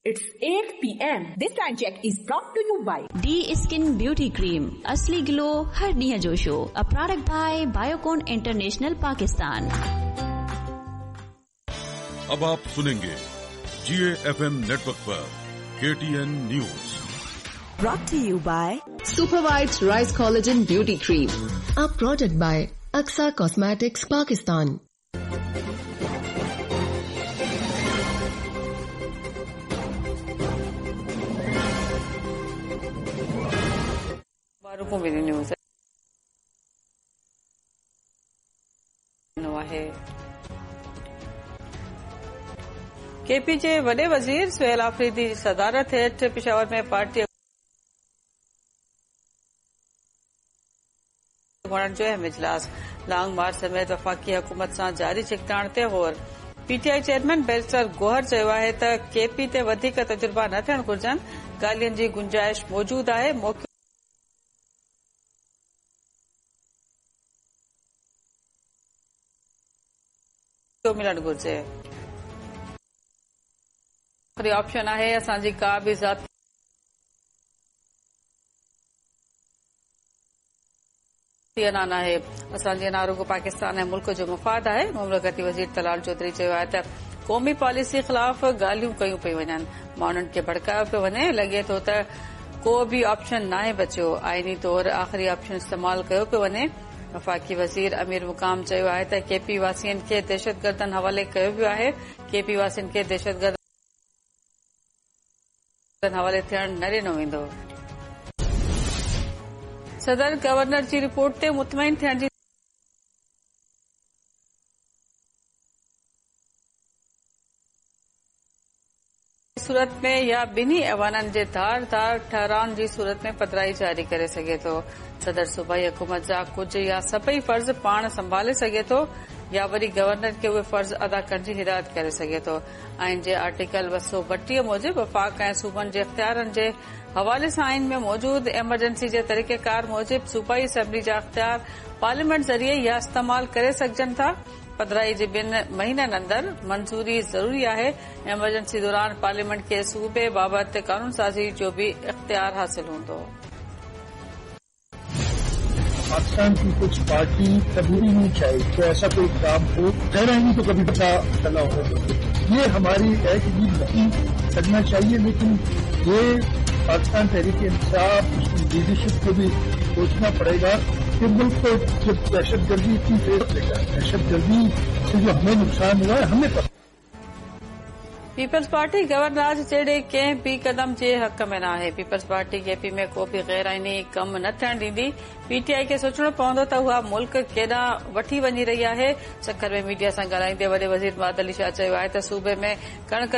It's 8 PM. This time check is brought to you by the skin beauty cream असली glow हर ॾींहं जो show a product by Biocon international Pakistan. अब आप सुनेंगे जीएफएम network पर KTN news. Brought to you by Super White Rice Collagen Beauty Cream. A product by Aksa Cosmetics Pakistan. News आहे। KP जे वॾे वज़ीर सुहेल आफरीदी जी सदारत हेठि पेशावर में पार्टी अॻुवाणनि जो अहम इजलास। लॉन्ग मार्च समेत वफ़ाक़ी हुकूमत सां जारी छिकताण ते गौर। पीटीआई चेयरमैन बैरिस्टर गोहर चयो आहे त केपी ते वधीक तजुर्बा न थियणु घुर्जनि, ॻाल्हियुनि जी गुंजाइश मौजूद आहे, मौक़ो मिलणु घुर्जे। ऑप्शन आहे, असांजी का बि ज़ाती अना नाहे, असांजी अना रुगो पाकिस्तान ऐं मुल्क जो मुफ़ाद आहे। मुमलिकती वज़ीर तलाल चौधरी चयो आहे त क़ौमी पॉलिसी ख़िलाफ़ ॻाल्हियूं कयूं पई वञनि, माण्हुनि खे भड़कायो पियो वञे, लॻे थो त को बि ऑप्शन नाहे बचियो, आइनी तौर आख़िरी ऑप्शन इस्तेमाल कयो पियो वञे। वफ़ाक़ी वज़ीर अमीर मुक़ाम चयो आहे त केपी वासियुनि खे दहशतगर्दनि हवाले कयो वियो आहे, केपी वासियुनि खे दहशतगर्दनि हवाले थियण न ॾिनो वेंदो। सदर गवर्नर जी रिपोर्ट ते मुतमईन थियण जी सूरत में या ॿिन्ही ऐवाननि जे धार धार ठहिराउनि जी सूरत में पधराई जारी करे सघे थो। सदर सूबाई हुकूमत जा कुझु या सभई फ़र्ज़ पाण संभाले सघे थो या वरी गवर्नर खे उहे फ़र्ज़ अदा करण जी हिदायत करे सघे थो। आइन जे आर्टिकल 232 मूजिबि वफ़ाक़ ऐं सूबनि जे इख़्तियारनि जे हवाले सां आइन में मौजूद एमरजेंसी जे तरीक़ेकार मूजिबि सूबाई असेंबली जा इख़्तियार पार्लियामेंट ज़रिए या इस्तेमाल करे सघजनि था। पधराई जे 2 महीननि अंदरि मंज़ूरी ज़रूरी आहे। एमरजेंसी दौरान पार्लियामेंट खे सूबे बाबति कानून साज़ी जो बि इख़्तियार हासिल हूंदो। पाकिस्तान की कुछ पार्टी कभी भी नहीं चाहे तो ऐसा कोई काम हो, गैर आईनी तो कभी पता चला हो, ये हमारी है कि ये नहीं करना चाहिए। लेकिन ये पाकिस्तान तहरीक इंसाफ उसकी लीडरशिप को भी सोचना पड़ेगा कि मुल्क को जब दहशतगर्दी इतनी तेज दहशतगर्दी से जो हमें नुकसान हुआ है हमें पता। पीपल्स पार्टी गवर्नर जहिड़े कंहिं बि कदम जे हक़ में न आहे। पीपल्स पार्टी केपी में को बि ग़ैर आइनी कमु न थियण ॾींदी। पीटीआई खे सोचिणो पवंदो त उहा मुल्क केॾां वठी वञी रही आहे। सक्खर में मीडिया सां ॻाल्हाईंदे वॾे वज़ीर मुराद अली शाह चयो आहे त सूबे में कणिक